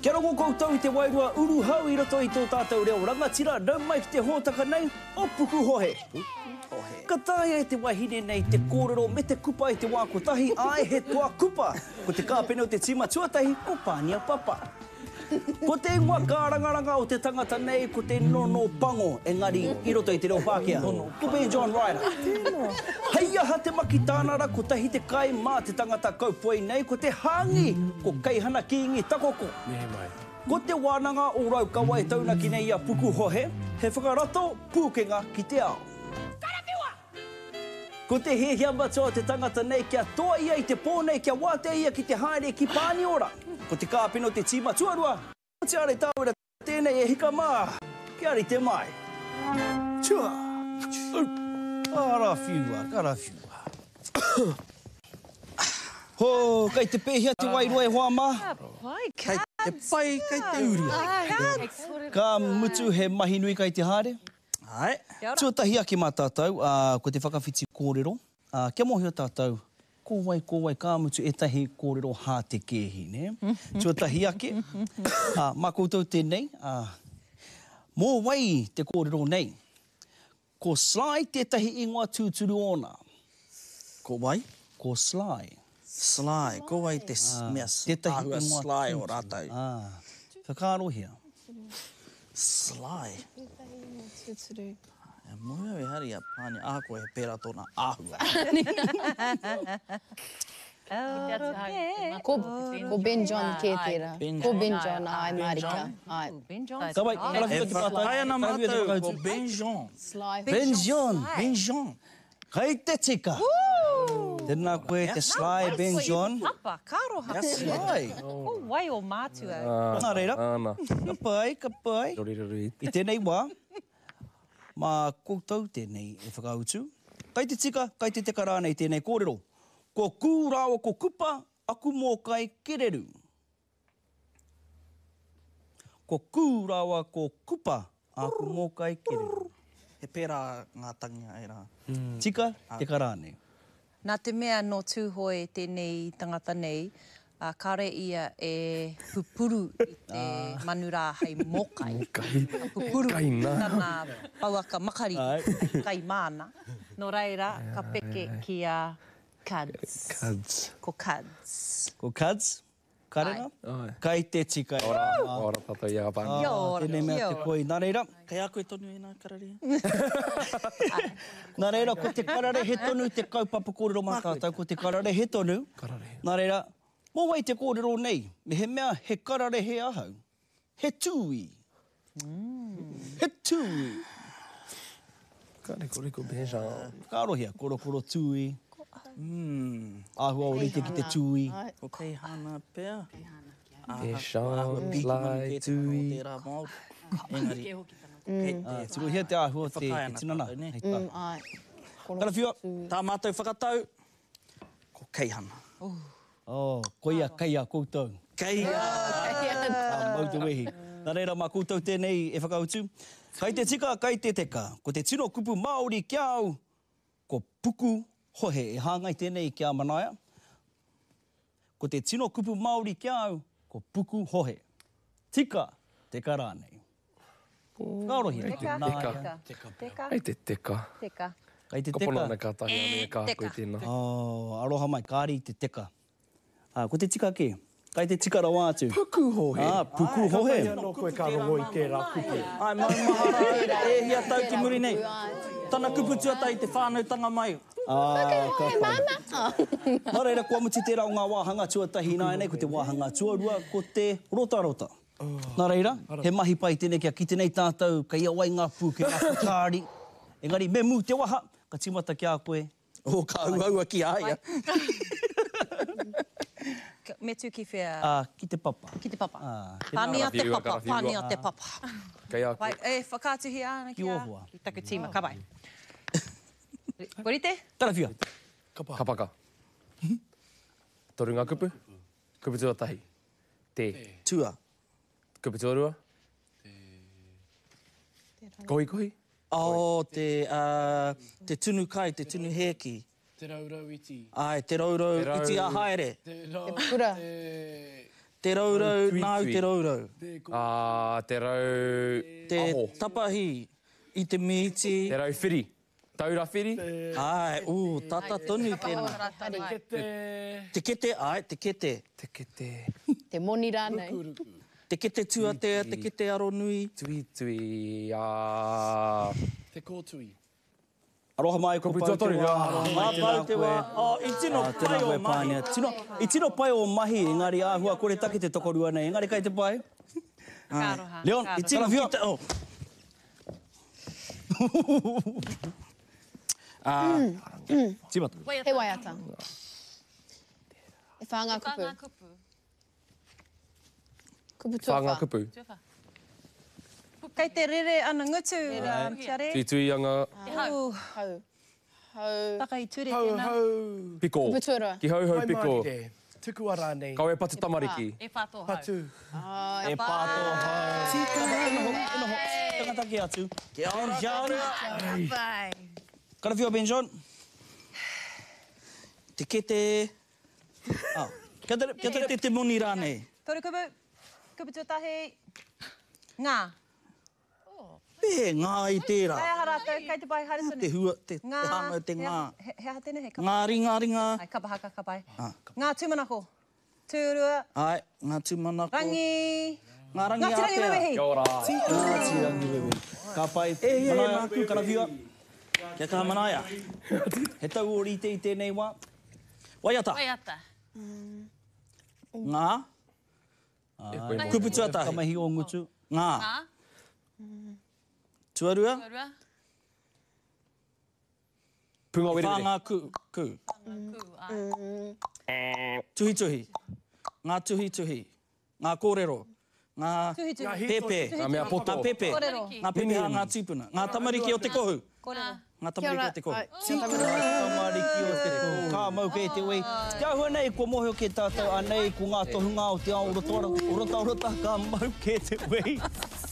Kia rongo koutou i te wairua uruhau i roto i tō tātou reo rangatira, nau mai ki te hōtaka nei o Pukuhohe. Ka taea e te wahine nei te kōrero me te kupa i te wā kotahi, āe he toa kupa! Ko te kāpene o te tīma tuatahi ko Pānia Papa. Ko te ingoa kārangaranga o te tangata nei ko te Nono Pango, engari i roto i te reo Pākehā, ko Ben John Ryder. Hei aha te maki tānara kotahi te kai mā te tangata kaupoi nei ko te hāngi, ko Keihana Kīngi Takoko. Ko Te Wānanga o Raukawa e taunaki nei i a Pukuhohe, he whakarato pūkenga ki te ao. Ko te hiahia matua o te tangata nei kia toa ia i te pō nei kia wātea ia ki te haere ki Pāniora. Ko te kāpene o te tīma tuarua, ko Te Are Tāwera tēnei e hika mā, kia rite mai. Tua! Karawhiua, karawhiua. Ho, kei te pēhea te wairua e hoa mā? Ka pai, Kei te pai, kei te uru. Ka mutu he mahi nui kei te haere. Āe. Tuatahi ake mā tātou, ā, ko te whakawhiti kōrero, ā, kia mōhio tātou ko wai, ko wai, ka mutu ētahi kōrero hātekēhi, nē? Tuatahi ake, ā, mā koutou tēnei, ā, mō wai te kōrero nei? Ko Sly tētahi ingoa tūturu ōna. Ko wai? Ko Sly. Sly, ko wai te mea āhua sly o rātou? Ā, whakaarohia. Sly. Tētahi ingoa tūturu. E moe au ehara i a Pānia, ahakoa he pērā tōna āhua. Ko Ben John kē tērā. Ko Ben John, āe mārika. Āe. Ka wai, ka rawhiti te pātai. E whakaae ana mātou ko Ben John. Sly. Ben John. Ben John. Kei te tika! Tēnā koe te Sly Ben John. Papa, ka aroha. Kia Sly. Ko wai o mātua? Nā reira, ka pai, ka pai. I tēnei wā, mā koutou tēnei e whakautu. Kai te tika, kai te teka rānei tēnei kōrero. Ko Kū rāua ko Kupa aku mōkai kererū. Ko Kū rāua ko Kupa āku mōkai kererū. He pērā ngā tangi a ērā. Tika, teka rānei. Nā te mea nō Tūhoe tēnei tangata nei, ā, kāore ia e pupuru i te manu rā hei mōkai. Ka pupuru i tana pouaka makariri hei kai māna. Nō reira, ka peke ki a Kuds. Ko Kuds. Ko Kuds? Karena? Kai te tika e Ora, ora tatou i a Pānia. Kia ora, Tēnei mea te koi. Nā reira. Kei a koe tonu ēnā kararehe. Nā reira, ko te kararehe tonu te kaupapa kōrero mā tātou, ko te kararehe tonu. Kararehe. Nā reira, mō wai te kōrero nei? Mehemea he kararehe ahau, he tūī. He tūī. Ka rikoriko Benjamin. Whakaarohia, korokoro tūī. Āhua ōrite ki te tūī. Ko Keihana pea. Benjamin, Sly, tūī. Engari. Tirohia te āhua o te tinana. Karawhiua. Tā mātou whakatau, ko Keihana. Oh, koia kei a koutou. Kei a. Ka mau te wehi. Nā reira, mā koutou tēnei e whakautu. Kai te tika, kai te teka. Ko te tino kupu Māori ki a au, ko puku hohe. E hāngai tēnei ki a Manaia. Ko te tino kupu Māori ki a au, ko puku hohe. Tika, teka rānei. Whakaarohia. Teka. Nāia. Teka. Kei te teka. Teka. Kei te Ka pono teka. ana ka tahi ana e ka koe tēnā. Oh, aroha mai, kāre i te teka. Ā, ko te tika kē. Kai te tika rawa atu. Pukuhohe. Ā, pukuhohe. Kātahi anō koe ka rongo i tērā kupu. Āe, maumahara au, e hia tau ki muri nei. Tana kupu tuatahi te whānautanga mai. Ā, ka pai. Nā reira, kua mutu tērā o ngā wāhanga tuatahi ināianei, ko te wāhanga tuarua, ko te rotarota. Nā reira, he mahi pai tēnei kia kite nei tātou kei a wai ngā pūkenga whakaari. Engari, me mū te waha, ka tīmata ki a koe. Oh, ka uaua ki a ia. Me tū ki whea? Ā, ki te papa. Ki te papa. Ā, tēnā. Pania te papa, pania te papa. Kei a koe. E whakaatuhia ana ki a. Ki ō hoa. Ki taku tīma, ka pai. Kua rite? Karawhiua. Kapaka. Toru ngā kupu. Kupu tuatahi. Te. Tua. Kupu tuarua. Te. Kohikohi. Oh, te, uh, te tunu kai, te tunu hēki. Te rourou iti. Āe, te rourou iti a haere. Te rau, Te pura. Te... Te rourou, nāu te rourou. Ā, te rau Te aho. tapahi i te mīti. Te rau whiri. Taura whiri. Āe, ū, tata tonu tēnā. Te kete. Te kete, āe, te kete. Te kete. Te moni rānei. Te kete tuatea, te kete aronui. Tuitui, ā. Te kōtui. Aroha mai, ko Kupu pau te tuatoru, wā, ā. aroha mai, Ā, tēnā pau te koe. wā. Oh, i tino Ā, tēnā pai koe, ō mahi. Pānia. Tino, i tino pai ō mahi, engari āhua koretake te tokorua nei, engari kai te pai. Ka aroha. Leon, ka I tino Karawhiua. ki te, oh. Ā, tīmata. He waiata. E whā ngā Whā kupu. ngā kupu. Kupu Whā ngā tuawhā. kupu. Tuawhā. Kei te rere ana ngutu, Tiare. Tuitui anga. Te hau. Hau. Hau. Taka i ture Hau, tēnā. hau. Piko. Kupu tuarua. Ki hauhau Pai piko. mārire. Tukua rānei. Kawe patu tamariki. E whā tō hau. Patu. Ai. E pā tō hau. Tika, e noho, e noho. Tangata kē atu. Kia ora, Ben John. Pai. Karawhiua, Ben John. Te kete. Oh. Kia tere, kia tere. Te kete te moni rānei. Toru kupu. Kupu tuatahi. Ngā. Pē, ngā i tērā. Hei aha rātou, kei te pai haere tonu. Te hua, te, Ngā. te hāmau, te He ngā. aha- He, he aha tēnei, he kapa. Ngā ringa, ringa. Ai, kapa haka, ka pai. Ah. Ngā tūmanako. Tūrua. Ai, ngā tūmanako. Rangi. Ngā rangi Ngā tirangi ātea. wewehi. Kia ora. Ngāti Rangiwewehi. Ka pai. E hia Manaia, ngā kupu. Karawhiua. Kia kaha manaia. He tau ōrite i tēnei wā. Waiata. Waiata. Ngā. Ai. Kupu tuatahi. Ka mahi ō ngutu. Ngā. Ngā. Tuarua. Tuarua. Punga Whā werewere. ngā ku. Ku. Ku, ai. Tuhituhi. Ngā tuhituhi. Ngā kōrero. Ngā Tuhituhi. pepe. Ngā mea poto. Ngā pepe. Kōrero. Ngā pepeha ngā tūpuna. Ngā tamariki o te kohu. Kōrero. Ngā tamariki o te kohu. Ai, kia tamariki. Tamariki o te kohu. Ka mau kē te wei. Te āhua nei, kua mōhio kē tātou anei, ko ngā tohunga o te ao rotarota, ka mau kē te wei.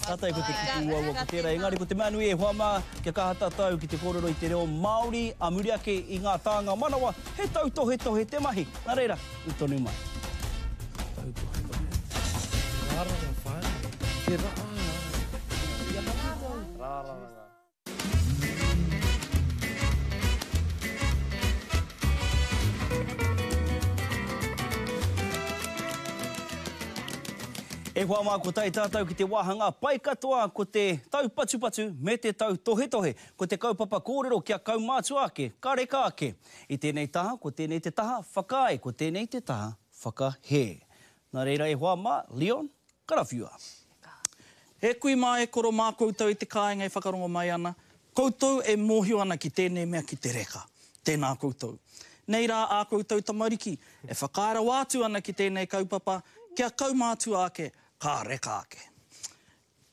Tātai ko te kupu uaua ko tērā. Engari ko te mea nui e hoa mā, kia kaha tātou ki te kōrero i te reo Māori, a muri ake i ngā tānga manawa, he tautohetohe te mahi. Nā reira, ū tonu mai. Rāranga whānui. Te rā. Rāranga. E hoa mā, ko tae tātou ki te wāhanga pai katoa ko te taupatupatu me te tautohetohe. Ko te kaupapa kōrero kia kaumātua ake, ka reka ake. I tēnei taha, ko tēnei te taha whakaae, ko tēnei te taha whakahē. Nā reira e hoa mā, Leon, karawhiua. E kui mā, e koro mā koutou i te kāinga e whakarongo mai ana, koutou e mōhio ana ki tēnei mea ki te reka. Tēnā koutou. Nei rā ā koutou tamariki e whakaae rawa atu ana ki tēnei kaupapa, kia kaumātua ake, ka reka ake.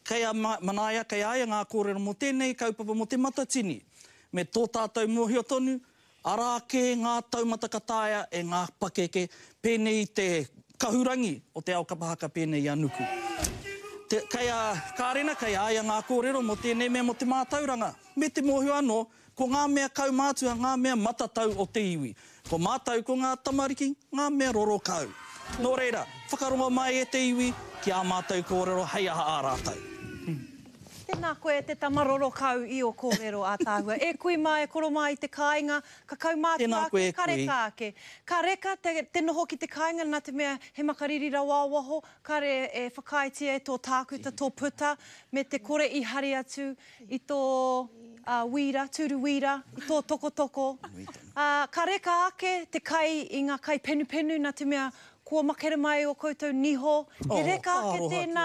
Kei a Manaia, kei a ia ngā kōrero mō tēnei kaupapa mō Te Matatini, me tō tātou mōhio tonu, arā kē ngā taumata ka taea e ngā pakeke pēnei i te kahurangi o te ao kapa haka pēnei i a Nuku. Te, kei a Kārena, kei a ia ngā kōrero mō tēnei mea mō te mātauranga, me te mōhio anō, ko ngā mea kaumātua ngā mea matatau o te iwi. Ko mātou ko ngā tamariki, ngā mea roro kau. Nō reira, whakarongo mai e te iwi ki ā mātou kōrero hei aha ā rātou. Tēnā koe e te tama roro kau i ō kōrero ātaahua. E kui mā, e koro mā i te kāinga, ka kaumātua Tēnā koe ake, e ka kui. reka ake. Ka reka te, te noho ki te kāinga nā te mea he makariri rawa o waho, kare e whakaaetia e tō tākuta, tō puta, me te kore i hari atu i tō wīra, tūru wīra, i tō tokotoko. Ā, ka reka ake te kai i ngā kai penupenu nā te mea kua makere mai ō koutou niho. He reka ake tēnā,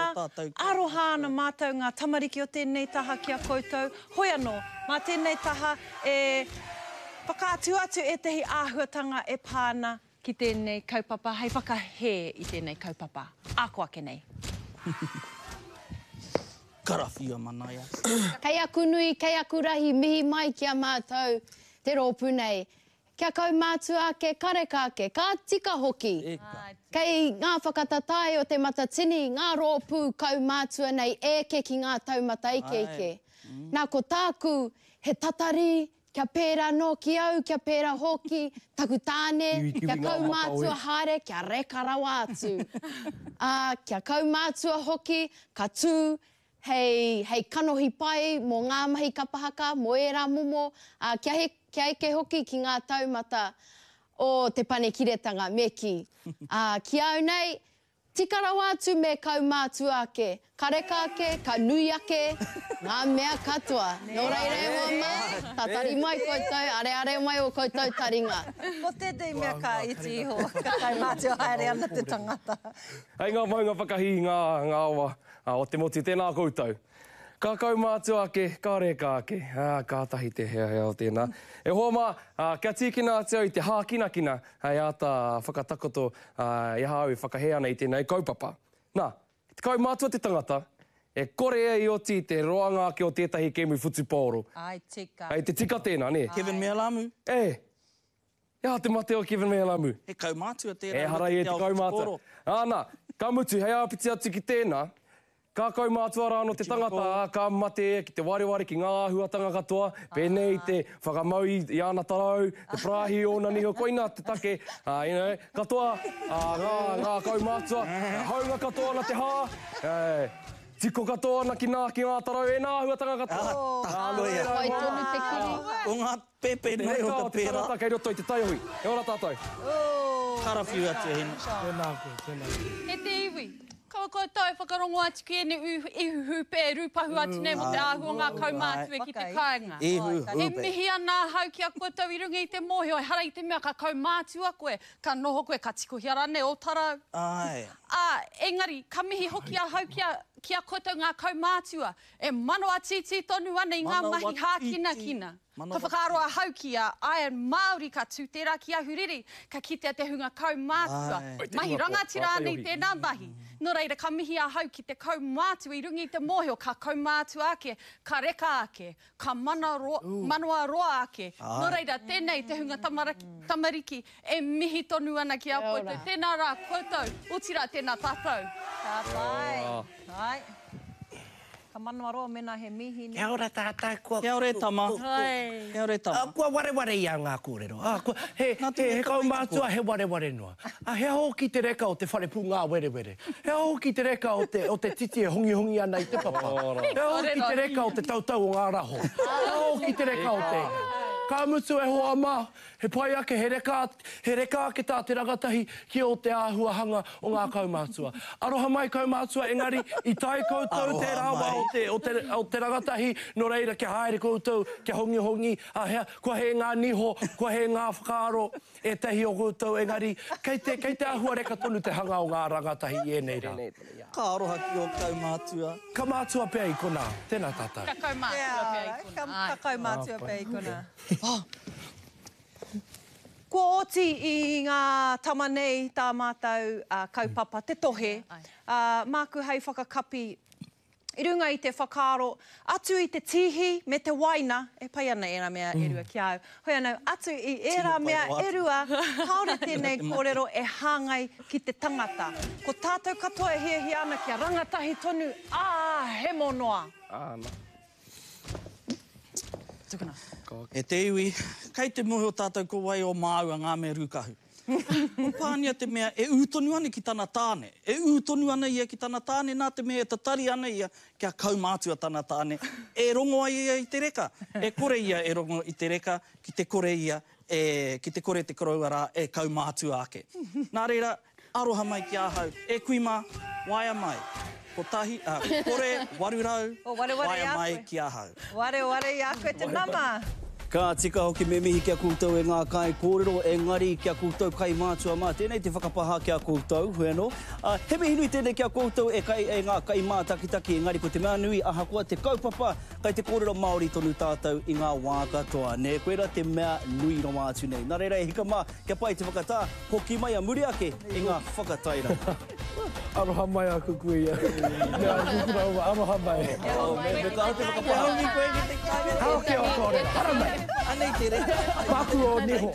aroha ana mātou ngā tamariki o tēnei taha ki a koutou. Hoi anō, mā tēnei taha e whakaatu atu ētahi āhuatanga e pā ana ki tēnei kaupapa, hei whakahē i tēnei kaupapa. Ako ake nei. Karawhiua manaia. Kei aku nui, kei aku rahi, mihi mai ki a mātou te rōpū nei. Kia kaumātua ake, ka reka ake, ka tika hoki. Kei ngā whakatatae o Te Matatini ngā rōpū kaumātua nei e eke ki ngā taumata ikeike. Nā, ko tāku, he tatari. Kia pērā nō ki au, kia pērā hoki taku tāne, Kiwikiwi kia ngā mata kaumātua oi. haere, kia reka rawa atu. Ā, kia kaumātua hoki, ka tū hei, hei kanohi pai mō ngā mahi kapa haka, mō ērā momo, ā, kia he, kia eke hoki ki ngā taumata o te panekiretanga, me kī. Ā, ki au nei, Tika rawa atu me kaumātua ake, ka reka ake, ka nui ake ngā mea katoa. Nō reira e hoa mā, tatari mai koutou, areare mai ō koutou taringa. Ko tētehi mea ka iti iho, ka kaumātua haere ana te tangata. Hei ngā maunga whakahī ngā ngā awa o te motu, tēnā koutou. Ka kaumātua ake, ka reka ake, ā, kātahi te heahea o tēnā. E hoa mā, kia tīkina atu au i te hākinakina hei āta whakatakoto i aha au e whakahē ana i tēnei kaupapa. Nā, ki te kaumātua te tangata, e kore ia i oti i te roanga ake o tētahi kēmu whutupaoro. Ai tika. Hei te tika tēnā, nē? Kevin Mealamu. E! He aha te mate o Kevin Mealamu? He kaumātua tērā i Ehara roto ia i i te te ao kaumātua. whutupaoro. Āna, ka mutu, hei āpiti atu ki tēnā, Ka kaumātua rā anō te tangata, ā, ka mate ia ki te wareware ki ngā āhuatanga katoa, pēnei i te whakamau i āna tarau, te parāhi i ōna niho, koinā te take, ā, you know, katoa, ā, ngā, ngā kaumātua, haunga katoa ana te hā, ē, tiko katoa ana ki nā, ki ngā tarau, ēnā āhuatanga katoa. Ā, nō reira, Pai tonu te kiri. Ko ngā pēpē Te nei o reka te o te pērā. tangata kei roto i te taiohi. E ora tātou. Karawhiu atu e Hine. Tēnā koe, tēnā koe. E te iwi, kaua koutou e whakarongo atu ki ēnei ihu hūpē e rūpahu atu nei mō te āhua o ngā kaumātua ki te kāinga. Ihu E hūpē. mihi ana ahau ki a koutou i runga i te mōhio ehara i te mea ka kaumātua koe, ka noho koe, ka tikohia rānei ō tarau. Āe. Ā, engari, ka mihi hoki ahau ki a, ki a koutou ngā kaumātua e manawa tītī tonu ana i ngā mahi hākinakina. Ka whakaaro ahau ki a Iron Māori ka tū tērā ki Ahuriri, ka kitea te hunga kaumātua, mahi rangatira ana i tēnā mahi. Nō reira, ka mihi ahau ki te kaumātua i runga i te mōhio ka kaumātua ake, ka reka ake, ka mana roa, manawa roa ake. Nō reira, tēnei te hunga tamariki e mihi tonu ana ki a koutou. Tēnā rā koutou, otirā tēnā tātou. Ka pai. Ai. Ka manawaroa mēnā he mīhini. Kia ora tātou, kua... Kia ora e tama. Kia ora e tama. Kua wareware i a ngā kōrero. Kua, he, he, he kaumātua, he wareware noa. A, he aha hoki te reka o te whare pūngāwerewere? He aha hoki te reka o te, o te titi e hongihongi ana i te papa? He aha hoki te reka o te tautau o ngā raho? He aha hoki te reka o te... Ka mutu e hoa mā, He pai ake, he reka, he reka ake tā te rangatahi ki ō te āhuahanga o ngā kaumātua. Aroha mai kaumātua, engari i tae koutou tērā wā o te, o te, o te rangatahi, nō reira kia haere koutou, kia hongihongi, ā, hea, kua hē ngā niho, kua hē ngā whakaaro, ētahi o koutou, engari kei te, kei te āhua reka tonu te hanga o ngā rangatahi i ēnei rā. Ka aroha ki ō kaumātua. Ka mātua pea i konā. Tēnā tātou. Ka kaumātua pea i konā, āe. Ka kaumātua pea i konā. Kua oti i ngā tama nei tā mātou kaupapa te tohe, ā, māku hei whakakapi i runga i te whakaaro, atu i te tīhi me te waina, e pai ana ērā mea e rua ki a au, hoi anō, atu i ērā mea e rua, kāore tēnei kōrero e hāngai ki te tangata. Ko tātou katoa e hiahia ana kia rangatahi tonu, ā, hemo noa. Āna. Tukuna. E te iwi, kei te mōhio tātou ko wai o māua ngā mea rūkahu. Ko Pānia te mea e ū tonu ana ki tana tāne. E ū tonu ana ia ki tana tāne nā te mea e tatari ana ia kia kaumātua tana tāne. E rongo ai ia i te reka. E kore ia e rongo i te reka ki te kore ia e, ki te kore te koroua rā e kaumātua ake. Nā reira, Aroha mai ki ahau. E kui ma, waea mai. Kotahi, a, kore, 800, O wareware waea i a mai koe. ki ahau. Wareware i a koe te nama. Ka tika hoki me mihi ki a koutou e ngā kaikōrero, engari ki a koutou kaimātua mā, tēnei te whakapāha ki a koutou, hoi anō. Ā, he mihi nui tēnei ki a koutou e kai, e ngā kaimātakitaki, engari ko te mea nui, ahakoa te kaupapa, kai te kōrero Māori tonu tātou i ngā wā katoa, nē, koirā te mea nui rawa atu nei. Nā reira e hika mā, kia pai te whakatā, Hoki mai a muri ake i ngā whakatairanga. Aroha mai aku kuia. Me aku koroua, aroha mai. Me kaha te whakapāha. Hao ki o kōrero, haramai. Anei te reka. Paku o niho.